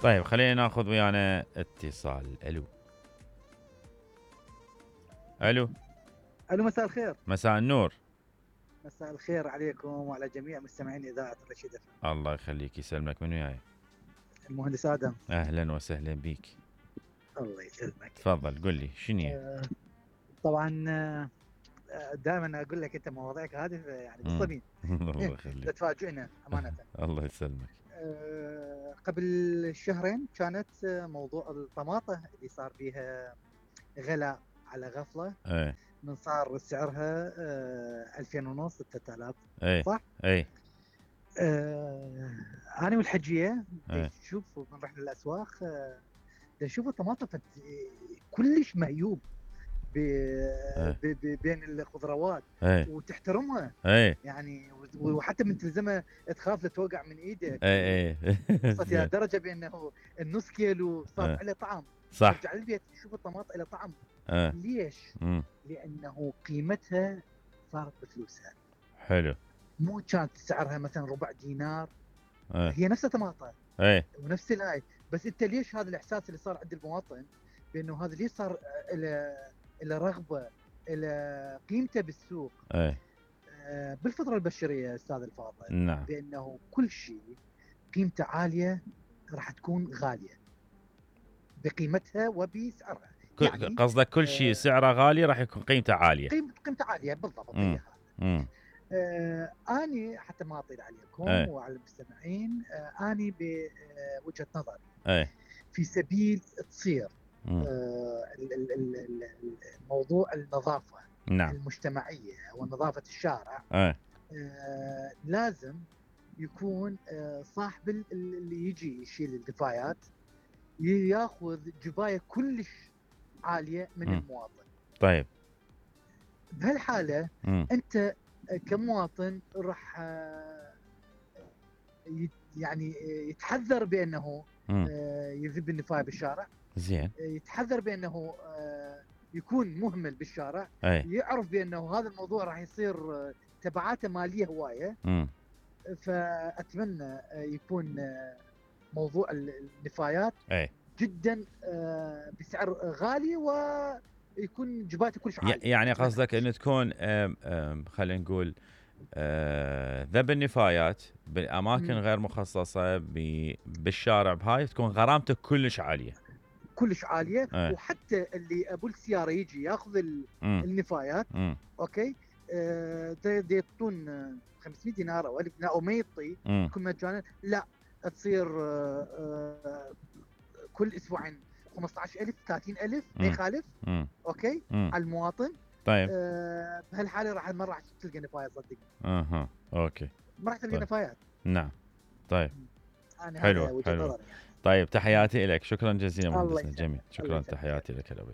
طيب خلينا ناخذ ويانا اتصال. الو الو. الو، مساء الخير. مساء النور. مساء الخير عليكم وعلى جميع مستمعين اذاعه رشيد FM. الله يخليك يسلمك. من وياي؟ المهندس ادم. اهلا وسهلا بيك. الله يسلمك. تفضل قل لي شنو. طبعا دائما اقول لك انت مواضيعك هذه يعني بالصميم. الله يخليك. تفاجئنا امانه. الله يسلمك. قبل شهرين كانت موضوع الطماطه اللي صار بيها غلاء على غفله. من صار سعرها 2000 ونص 3000. صح؟ اي. انا والحجيه نشوف من رحنا الاسواق نشوف الطماطم كلش مهيوب بين الخضروات وتحترمها يعني، وحتى من تلزمها تخاف لا توقع من ايدك. وصلت الى درجه بانه النص كيلو صار له طعم. صح. ترجع للبيت تشوف الطماطم له طعم. ليش؟ لانه قيمتها صارت بفلوسها. حلو. مو كانت سعرها مثلا ربع دينار. هي نفس الطماطم ونفس الهاي، بس انت ليش هذا الاحساس اللي صار عند المواطن بانه هذا ليش صار الى رغبه الى قيمته بالسوق. بالفطره البشريه استاذ الفاضل. نعم. بانه كل شيء قيمته عاليه راح تكون غاليه بقيمتها وبسعرها. يعني قصدك كل شيء سعره غالي راح يكون قيمته عاليه. قيمته عاليه بالضبط. اني حتى ما اطيل عليكم وعلى المستمعين، اني بوجهه نظري في سبيل تصير موضوع النظافه. نعم. المجتمعيه ونظافه الشارع. لازم يكون صاحب اللي يجي يشيل الدفايات ياخذ جبايه كلش عاليه من المواطن. طيب بهالحاله انت كمواطن راح يعني يتحذر بانه يذب النفايه بالشارع. زين. يتحذر بانه يكون مهمل بالشارع. يعرف بانه هذا الموضوع راح يصير تبعاته ماليه هوايه. فاتمنى يكون موضوع النفايات جدا بسعر غالي ويكون جباته كلش عالي. يعني قصدك انه تكون خلينا نقول ذب النفايات بالاماكن غير مخصصه بالشارع بهاي تكون غرامته كلش عاليه. كلش عاليه. وحتى اللي ابو السياره يجي ياخذ النفايات اوكي يعطون 500 دينار او 1000 دينار او ما يعطي يكون مجانا. لا، تصير كل اسبوعين 15000 30000 ما يخالف. اوكي على المواطن. طيب بهالحاله ما راح تلقى نفايات صدقني. اوكي ما راح تلقى نفايات. نعم. طيب حلو حلو. طيب تحياتي لك. شكرا جزيلا مهندسنا جميل. شكرا. تحياتي لك.